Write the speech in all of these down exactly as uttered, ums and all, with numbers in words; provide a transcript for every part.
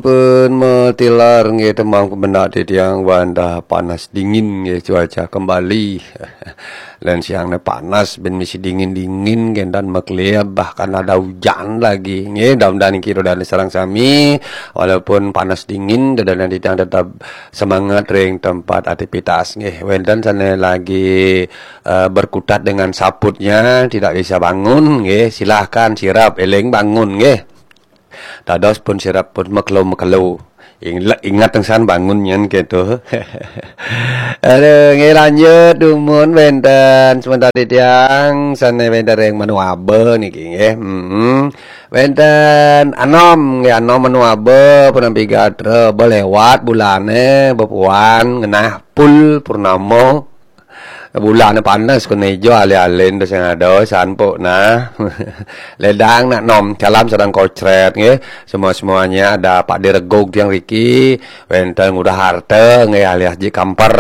Pun matilar nggih, tembang pembenak titiang wantah panas dingin nggih, cuaca kembali. Lan siang ne panas, ben misi dingin-dingin, gendan makleb, bahkan ada hujan lagi nggih. Mudah-mudahan niki ida dane sareng sami, walaupun panas dingin, ida dane titiang tetap semangat ring tempat aktivitas nggih. Wenten sane lagi, eh, berkutat dengan saputnya, tidak bisa bangun nggih, silahkan sirap, eling bangun nggih. Dados pun sirap pun makelo-makelo. Ing-, ingat teng san bangun nyen gitu. Aduh, nggih lanjut dumun wenten sementara titiang sane wenten ring Manuabe niki nggih. Heeh. Wenten anom nggih, anom Manuabe pun nampi gatra, belewat bulane, bepuan ngenah pul purnama. Bulane panas kene ijo ale-ale ento sing ada sanpuk nah. Ledang nak nom, salam sareng kocret nggih. Semua-semuanya ada Pak Diregog tiang riki, wenten Ngurah Harta nggih alias Ji Kamper,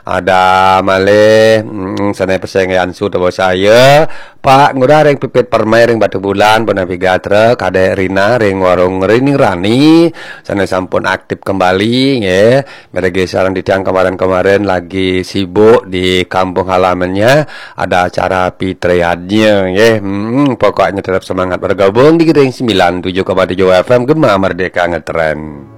ada malih, mm, sane peseng Ansu Tabo Saya, Pak Ngurah ring Pipit Permai ring Batu Bulan, pun nampi gatra, Kadek Rina ring Warung Rini Rani, sane sampun aktif kembali nggih. Mereka sareng titiang kemarin-kemarin lagi sibuk di kampung halamannya, ada acara pitriadnya nggih. Hmm, pokoknya tetap semangat bergabung di Gering sembilan tujuh koma tujuh F M Gema Merdeka Ngetren.